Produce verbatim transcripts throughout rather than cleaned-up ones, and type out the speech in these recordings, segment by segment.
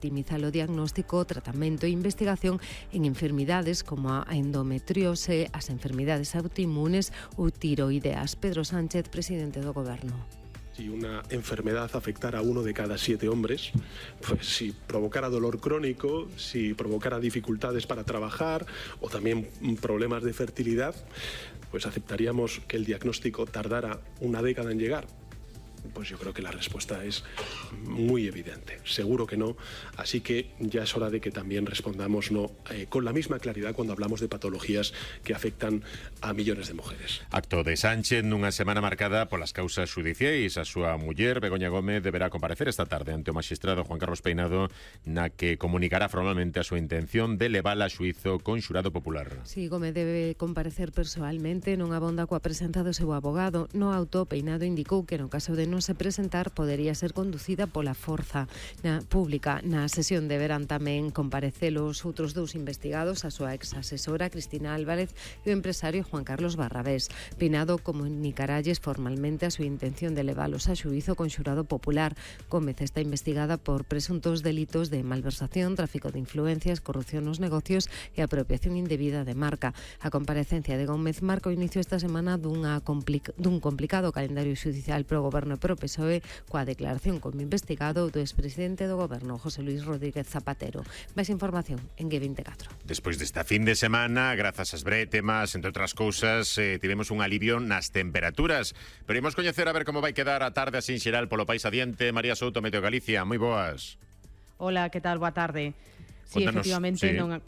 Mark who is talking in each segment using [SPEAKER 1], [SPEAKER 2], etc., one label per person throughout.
[SPEAKER 1] optimizar o diagnóstico, tratamento e investigación en enfermidades como a endometriose, as enfermidades autoinmunes ou tiroideas. Pedro Sánchez, presidente do Goberno.
[SPEAKER 2] Si una enfermedad afectara a uno de cada siete hombres, pues si provocara dolor crónico, si provocara dificultades para trabajar o también problemas de fertilidad, pues aceptaríamos que el diagnóstico tardara una década en llegar. Pues yo creo que la respuesta es muy evidente. Seguro que no. Así que ya es hora de que también respondamos no eh, con la misma claridad cuando hablamos de patologías que afectan a millones de mujeres.
[SPEAKER 3] Acto de Sánchez nunha semana marcada polas causas xudiciais. A súa muller, Begoña Gómez, deberá comparecer esta tarde ante o magistrado Juan Carlos Peinado, na que comunicará formalmente a súa intención de levala a xuízo con xurado popular.
[SPEAKER 1] Si, sí, Gómez debe comparecer persoalmente, non abonda coa presenza do seu abogado. No auto, Peinado indicou que no caso de non se presentar podería ser conducida pola forza na pública. Na sesión deberán tamén comparecer os outros dous investigados, a súa ex-asesora Cristina Álvarez e o empresario Juan Carlos Barrabés. Peinado comunicaralles formalmente a súa intención de levalos a xuízo con xurado popular. Gómez está investigada por presuntos delitos de malversación, tráfico de influencias, corrupción nos negocios e apropiación indebida de marca. A comparecencia de Gómez marca o inicio esta semana dunha complic- dun complicado calendario xudicial pro Goberno pro P S O E, coa declaración como investigado do expresidente do Goberno, José Luis Rodríguez Zapatero. Máis información en G veinticuatro.
[SPEAKER 3] Despois desta fin de semana, grazas ás brétemas, entre outras cousas, eh, tivemos un alivio nas temperaturas. Pero imos coñecer a ver como vai quedar a tarde así en xeral polo país adiante. María Souto, Meteo Galicia, moi boas.
[SPEAKER 4] Hola, que tal? Boa tarde. Sí, Contanos, efectivamente, sí. non,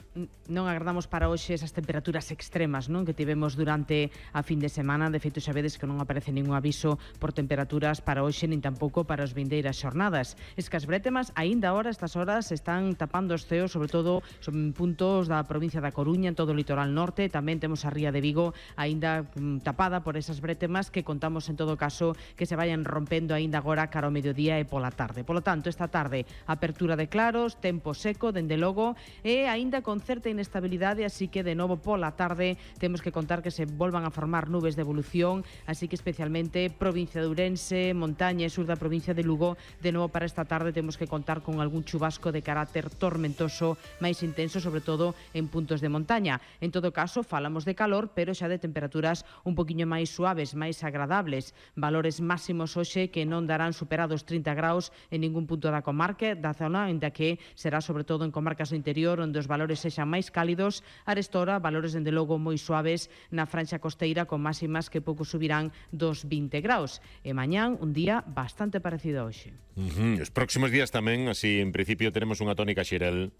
[SPEAKER 4] non agardamos para hoxe esas temperaturas extremas, non, que tivemos durante a fin de semana. De feito, xa vedes que non aparece ningún aviso por temperaturas para hoxe, nin tampouco para as vindeiras xornadas. Es que as brétemas, aínda ahora, estas horas, están tapando os ceos, sobre todo en puntos da provincia da Coruña, en todo o litoral norte. Tamén temos a ría de Vigo, aínda mm, tapada por esas brétemas, que contamos, en todo caso, que se vayan rompendo aínda agora cara ao mediodía e pola tarde. Polo tanto, esta tarde, apertura de claros, tempo seco, dende logo, e aínda con certa inestabilidade, así que de novo pola tarde temos que contar que se volvan a formar nubes de evolución, así que especialmente provincia de Ourense, montaña e sur da provincia de Lugo, de novo para esta tarde temos que contar con algún chubasco de carácter tormentoso máis intenso, sobre todo en puntos de montaña. En todo caso, falamos de calor, pero xa de temperaturas un poquinho máis suaves, máis agradables, valores máximos hoxe que non darán superados trinta graus en ningún punto da comarca, da zona, ainda que será sobre todo en comarcas do interior onde os valores sexan máis cálidos. Arestora, valores dende logo moi suaves na franxa costeira, con máximas que pouco subirán dos vinte graus. E mañán un día bastante parecido a hoxe.
[SPEAKER 3] Uh-huh. Os próximos días tamén, así en principio teremos unha tónica xeral.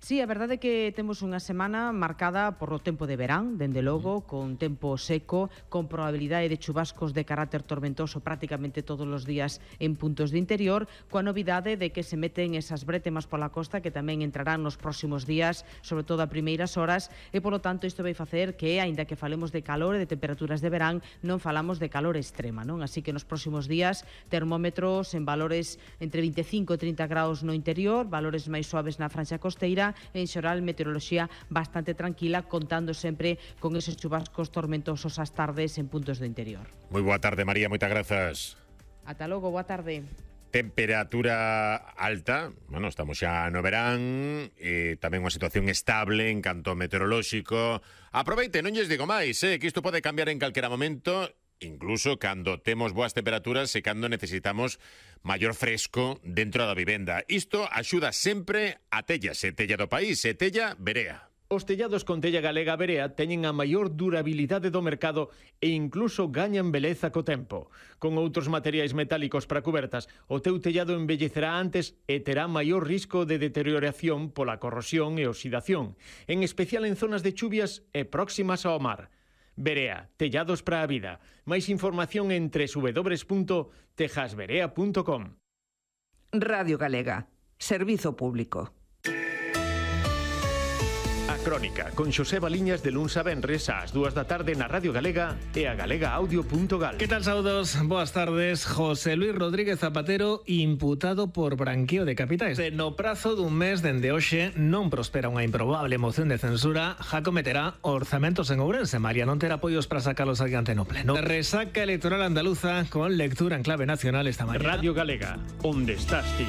[SPEAKER 4] Sí, a verdade é que temos unha semana marcada por o tempo de verán, dende logo, con tempo seco, con probabilidade de chubascos de carácter tormentoso prácticamente todos os días en puntos de interior, coa novidade de que se meten esas brétemas pola costa que tamén entrarán nos próximos días, sobre todo a primeiras horas, e polo tanto isto vai facer que, aínda que falemos de calor e de temperaturas de verán, non falamos de calor extrema, non? Así que nos próximos días, termómetros en valores entre vinte e cinco e trinta graus no interior, valores máis suaves na franxa costeira. En xeral, meteoroloxía bastante tranquila, contando sempre con esos chubascos tormentosos ás tardes en puntos do interior.
[SPEAKER 3] Moi boa tarde, María, moitas grazas.
[SPEAKER 4] Ata logo, boa tarde.
[SPEAKER 3] Temperatura alta, bueno, estamos xa no verán, e tamén unha situación estable en canto meteorolóxico. Aproveite, non lles digo máis, eh, que isto pode cambiar en calquera momento, incluso cando temos boas temperaturas e cando necesitamos maior fresco dentro da vivenda. Isto axuda sempre a tellas, e tella do país, e tella Verea.
[SPEAKER 5] Os tellados con tella galega Verea teñen a maior durabilidade do mercado e incluso gañan beleza co tempo. Con outros materiais metálicos para cubertas, o teu tellado envellecerá antes e terá maior risco de deterioración pola corrosión e oxidación, en especial en zonas de chuvias e próximas ao mar. Verea, tellados para a vida. Máis información en doble u doble u punto tejas verea punto com.
[SPEAKER 6] Radio Galega, servizo público.
[SPEAKER 5] A Crónica, con Xosé Baliñas de luns a venres ás dúas da tarde na Radio Galega e a galega audio punto gal.
[SPEAKER 7] Que tal, saudos? Boas tardes. José Luis Rodríguez Zapatero imputado por branqueo de capitais. No prazo dun mes dende hoxe non prospera unha improbable moción de censura, já cometerá orzamentos en Ourense. María non terá apoios para sacalos adiante no pleno. Resaca electoral andaluza con lectura en clave nacional esta mañana.
[SPEAKER 5] Radio Galega, onde estás ti?